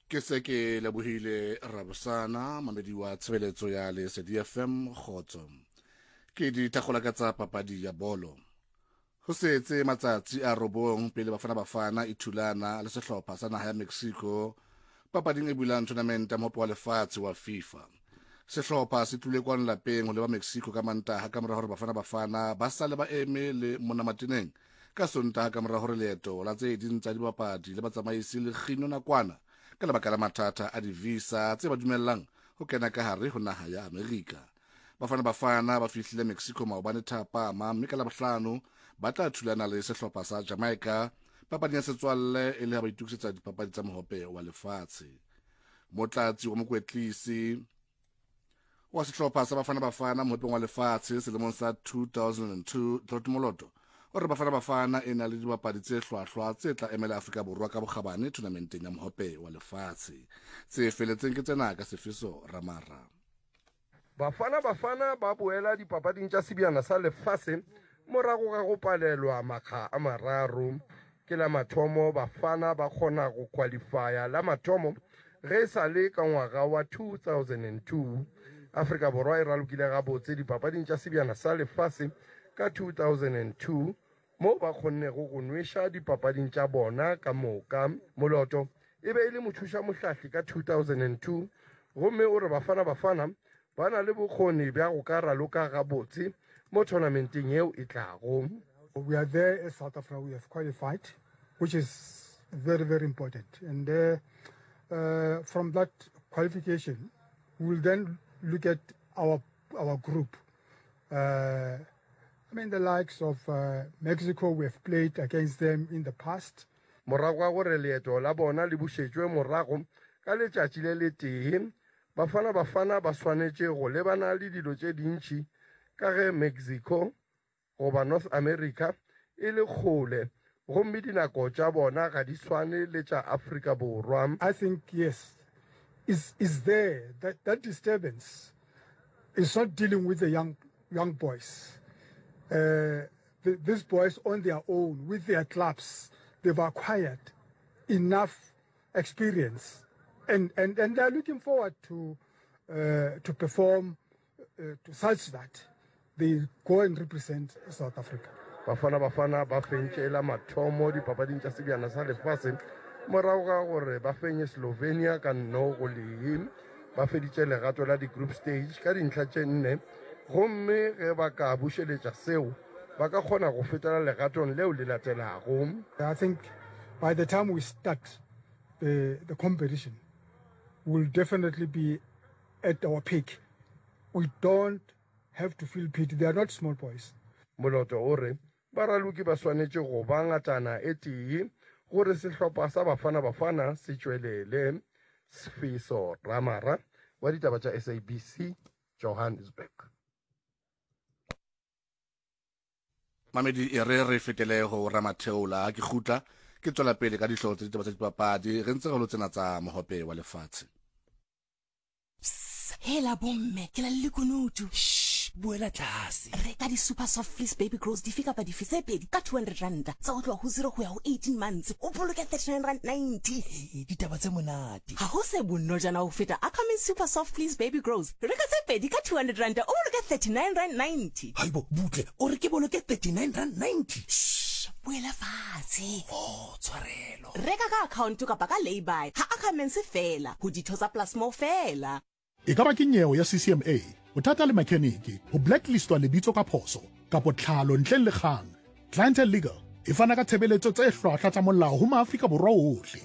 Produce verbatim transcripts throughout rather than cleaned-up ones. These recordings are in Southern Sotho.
Ke se ke lebohile Rabosana, mamedi wa tshebeletso ya Lesedi F M, kgotso. Ke dithakgola ka tsa papadi ya bolo. Ho setse matsatsi a robong pele Bafana Bafana e thulana le sehlopha sa naha ya Mexico papading e bulang tournament ya Mohope wa Lefatshe wa FIFA. Sehlopha se tlile kwano lapeng ho leba Mexico ka Mantaha ka mora hore Bafana Bafana ba sale ba eme le mona mateneng ka Sontaha ka mora hore leeto la tse ding tsa dibapadi le batsamaisi le kginwe nakwana ka lebaka la mathata a di-visa tse ba dumellang ho kena ka hare ho naha ya Amerika. Bafana Bafana ba fihlile Mexico maobane thapama, mme ka Labohlano ba tla thulana le sehlopha sa Jamaica papading ya setswalle e le ha ba itokisetsa dipapadi tsa Mohope wa Lefatshe. Motlatsi wa mokwetlisi wa sehlopha sa Bafana Bafana Mohopeng wa Lefatshe selemong sa two thousand and two, Trot Moloto, o re Bafana Bafana e na le dibapadi tse hlwahlwa tse tla emela Afrika Borwa ka bokgabane tournamenteng ya Mohope wa Lefatshe. Tse feletseng ke tsena ka Sefiso Ramara. Bafana Bafana ba boela dipapading tša Sebjana sa Lefase morago ga go palelwa makga a mararo. Ke la mathomo Bafana ba kgona go qualifya la mathomo ge e sa le ka ngwaga wa two thousand and two. Afrika Borwa e ralokile gabotse dipapading tša Sebjana sa Lefase ka two thousand and two, mo ba kgonnego go nweša dipapading tša bona ka moka. Moloto e be e le mothuša mohlahli ka two thousand and two, gomme o re Bafana Bafana ba na le bokgoni bja go ka raloka gabotse mo tournamenteng yeo e tlago. We are there as South Africa. We have qualified, which is very, very important. And uh, uh, from that qualification, we will then look at our our group. Uh, I mean, the likes of uh, Mexico, we have played against them in the past. Morago ga gore leeto la bona le bušetšwe morago ka letšatši le letee, Bafana Bafana ba swanetše go lebana le dilo tše dintši ka ge Mexico goba North America e le kgole gomme dinako tša bona ga di swane le tša Afrika Borwa. I think, yes, is, is there. That, that disturbance is not dealing with the young, young boys. Uh, the, these boys on their own, with their clubs, they've acquired enough experience and, and, and they're looking forward to, uh, to perform uh, to such that they go and represent South Africa. Bafana Bafana ba fentše la mathomo dipapading tša Sebjana sa Lefase morago ga gore ba fenye Slovenia ka nno go lee. Ba feditše legato la di-group stage ka dintlha tše nne, gomme ge ba ka bušeletša seo ba ka kgona go fetela legatong leo le latelago. I think by the time we start the, the competition, we'll definitely be at our peak. We don't have to feel pity. They are not small boys. Moloto o re baraloki ba swanetše go ba ngatana e tee gore sehlopha sa Bafana Bafana se tšwelele. Sfiso Ramara wa ditaba tša S A B C, Johannesburg. Mamedi, e re re fetele go Ramatheola. Ke kgutla ke tswela pele ka dihlooho tsa ditaba tsa dipapadi re ntse re lo tsena tsa Mohope wa Lefatshe. Hela bomme, ke la le lekunutu. Boela tlase. Reka di-Super Soft Fleece Baby Grows dife kapa dife tse pedi ka two hundred randa tsa go tloga go zero go ya go eighteen months, o boloke thirty-nine rand ninety. Ee, ditaba tse monate. Ga go se bonojana go feta Ackerman Super Soft Fleece Baby Grows. Reka tse pedi ka two hundred randa, o boloke thirty-nine rand ninety. Haibo, butle, o re ke boloke thirty-nine rand ninety? Shh, boela fatshe. Oh, tshwarelo. Reka ka account kapa ka laybuy ha Ackermans fela, ho ditho tsa Plasmo fela. E ka ba ke nyeo ya C C M A, bothata le mechanic, ho blacklistwa lebitso ka phoso, kapo tlhalo ntleng le kgang. Clientele Legal e fana ka tshebeletso tse hlwahlwa tsa molao ho maAfrika Borwa ohle.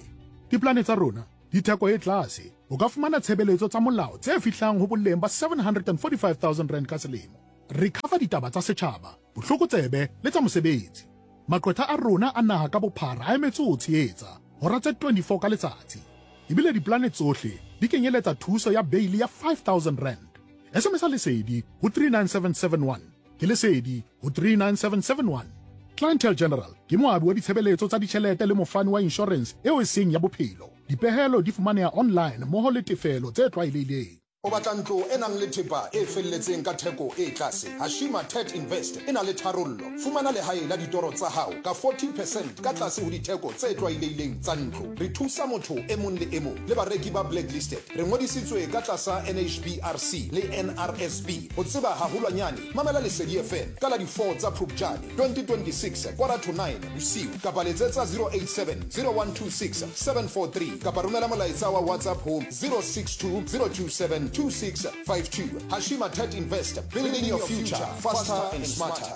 Diplane tsa rona di theko e tlase. O ka fumana tshebeletso tsa molao tse fihlang ho boleng ba seven hundred and forty-five thousand rand ka selemo. Re cover ditaba tsa setjhaba, bohlokotsebe le tsa mosebetsi. Maqwetha a rona a naha ka bophara a emetse ho tshehetsa hora tse twenty-four ka letsatsi. Ebile diplane tsohle di kenyeletsa thuso ya beili ya five thousand rand. S M S Lesedi ho three nine seven seven one. Ke Lesedi ho three nine seven seven one. Clientele General ke moabi wa ditshebeletso tsa ditjhelete le mofani wa insurance eo e seng ya bophelo. Dipehelo di fumaneha online mmoho le tefelo tse tlwaelehileng. O batla ntlo e nang le thepa e felletseng ka theko e tlase. Hashima Tet Invest e na le tharollo. Fumana lehae la ditoro tsa hao ka forty percent ka tlase ho ditheko tse tlwaelehileng tsa ntlo. Re thusa motho e mong le e mong le bareki ba blacklisted. Re ngodisitswe ka tlasa N H B R C le N R S B. Ho tseba haholwanyane, mamela Lesedi F M ka la di four tsa Phupjane twenty twenty-six quarter to nine bosiu kapa letsetsa zero eight seven zero one two six seven four three kapa romela molaetsa wa WhatsApp ho zero six two zero two seven two six five two. Hashima Tet Invest, building your future faster and smarter.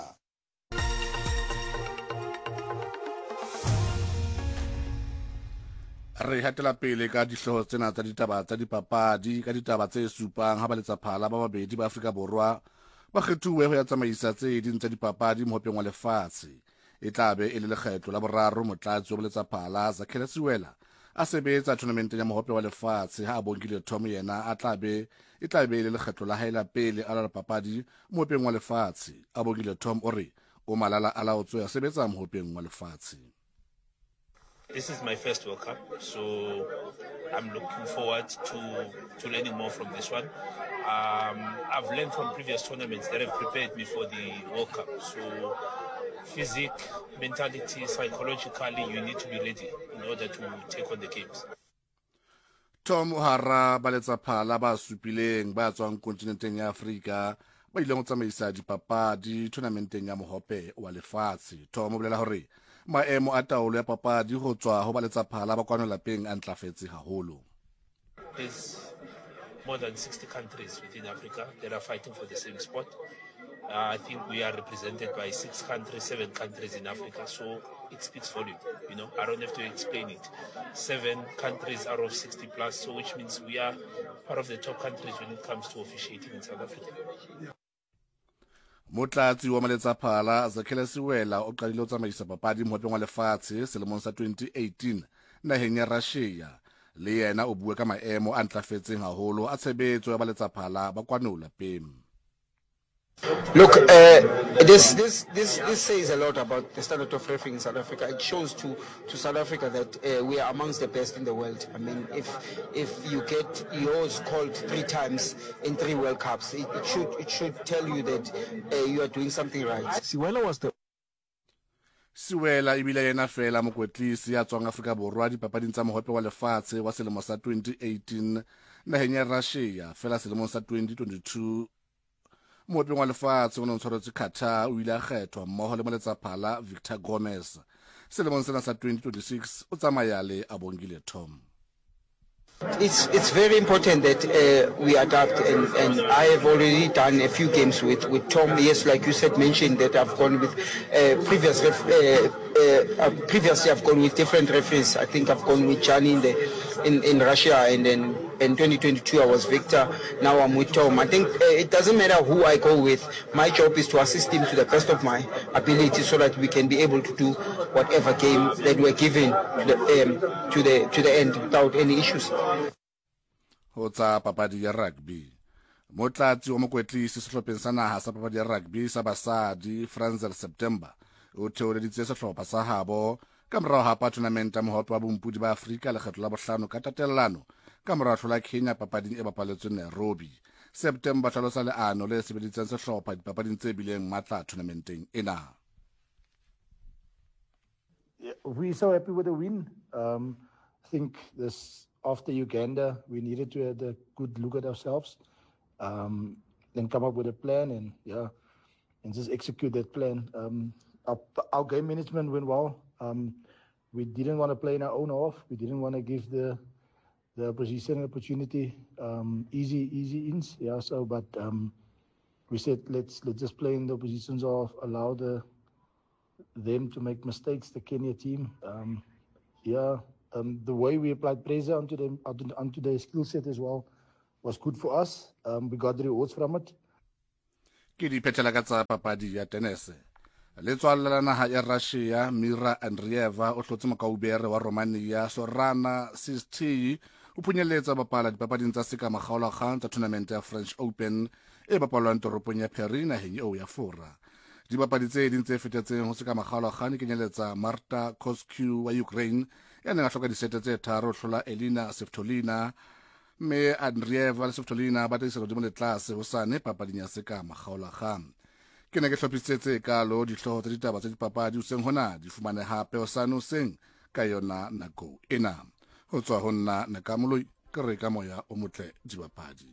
Re hatela pele ka dihlooho tsena tsa ditaba tsa dipapadi ka ditaba tse supang ha ba letsaphala ba babedi ba Afrika Borwa ba kgethuwe ho ya tsamaisa tse ding tsa dipapadi mohopeng wa lefatshe. E tla be e le lekgetlo la boraro motlatsi wa boletsaphala Zakhele Siwela a sebetsa tournamenteng ya mohope wa lefatshe ha a bonkile Tom yena a tla be e tla be e le lekgetlo la hae la pele a la papadi mohopeng wa lefatshe. A bonkile Tom o re o malala a laotswe ya sebetsa mohopeng wa lefatshe. This is my first World Cup, so I'm looking forward to, to learning more from this one. Um, I've learned from previous tournaments that have prepared me for the World Cup. So physique, mentality, psychologically, you need to be ready in order to take on the games. Tom Hara ba letsaphala ba supileng ba tswang kontinenteng ya Afrika ba ileng ho tsamaisa dipapadi tournamenteng ya mohope wa lefatshe. Tom o bolela hore maemo a taolo ya papadi ho tswa ho ba letsaphala ba kwano lapeng a ntlafetse haholo. There's more than sixty countries within Africa that are fighting for the same spot. Uh, I think we are represented by six countries, seven countries in Africa, so it speaks volume. You know, I don't have to explain it. Seven countries out of sixty plus, so which means we are part of the top countries when it comes to officiating in South Africa. Motlatsi wa maletsaphala Zakhele Siwela o qadile ho tsamaisa papadi mohopeng wa lefatshe selemong sa twenty eighteen naheng ya Russia. Le yena o bua ka maemo a ntlafetseng haholo a tshebetso ya baletsaphala ba kwano lapeng. Look, uh, this, this, this, this says a lot about the standard of refereeing in South Africa. It shows to, to South Africa that uh, we are amongst the best in the world. I mean, if, if you get yours called three times in three World Cups, it, it, should, it should tell you that uh, you are doing something right. Siwela was the Siwela ebile yena fela mokwetlisi ya tswang Afrika Borwa dipapading tsa mohope wa lefatshe wa selemo sa twenty eighteen naheng ya Russia. Fela selemong sa twenty twenty-two mohopeng wa lefatshe o ne o tshwaretswe Qatar o ile a kgethwa mmoho le moletsaphala Victor Gomez. Selemong sena sa twenty twenty-six o tsamaya le Abongile Tom. It's, it's very important that uh, we adapt, and, and I have already done a few games with, with Tom. Yes, like you said, mentioned that I've gone with uh, previous ref, uh, uh, previously I've gone with different referees. I think I've gone with Gianni in the in, in Russia, and then in twenty twenty-two I was Victor. Now I'm with Tom. I think uh, it doesn't matter who I go with. My job is to assist him to the best of my ability, so that we can be able to do whatever game that we're given to the, um, to the, to the end without any issues. Ho tsa papadi ya rugby. Motlatsi wa mokwetlisi sehlopheng sa naha sa papadi ya rugby sa basadi Franzel September o theoleditse sehlopha sa habo ka morao hapa tournament ya mohope wa bompudi ba Afrika lekgetlo la bohlano ka tatellano ka morao hlola Kenya papading e bapaletsweng Nairobi. September hlalosa leano le sebeditseng sehlopha dipapading tse bileng matla tournamenteng ena. Yeah, we're so happy with the win. Um, I think this after Uganda, we needed to have a good look at ourselves, um, then come up with a plan and yeah, and just execute that plan. Um, our, our game management went well. Um, we didn't want to play in our own half. We didn't want to give the the opposition an opportunity, um, easy easy ins. Yeah. So, but um, we said let's let's just play in the opposition's half, allow the them to make mistakes. The Kenya team, um, yeah. Um, the way we applied pressure onto them, onto, onto their skill set as well, was good for us. Um, we got the rewards from it. Ke di phethela ka tsa papadi ya tennis. Letswalle la naha ya Russia Mira Andreeva o hlotse mokaubere wa Romania Sorana Sisti o phunyeletsa bapala dipapading tsa seka makgaolakgang tsa tournament ya French Open e bapalwang toropong ya Paris naheng eo ya Fora. Dibapadi tse ding tse fetetseng ho seka makgaolakgang di kenyeletsa Marta Kostyuk wa Ukraine ya neng a hloka disete tse tharo ho hlola Elina Svitolina Mme Andrieva le Svitolina ba tla hodimo le tlase hosane papading ya seka makgaolakgang. Ke ne ke hlophisitse tse kalo dihlooho tsa ditaba tsa dipapadi hoseng hona di fumane hape hosane hoseng ka yona nako ena. Ho tswa ho nna Nakamoloi ke re ka moya o motle dibapadi.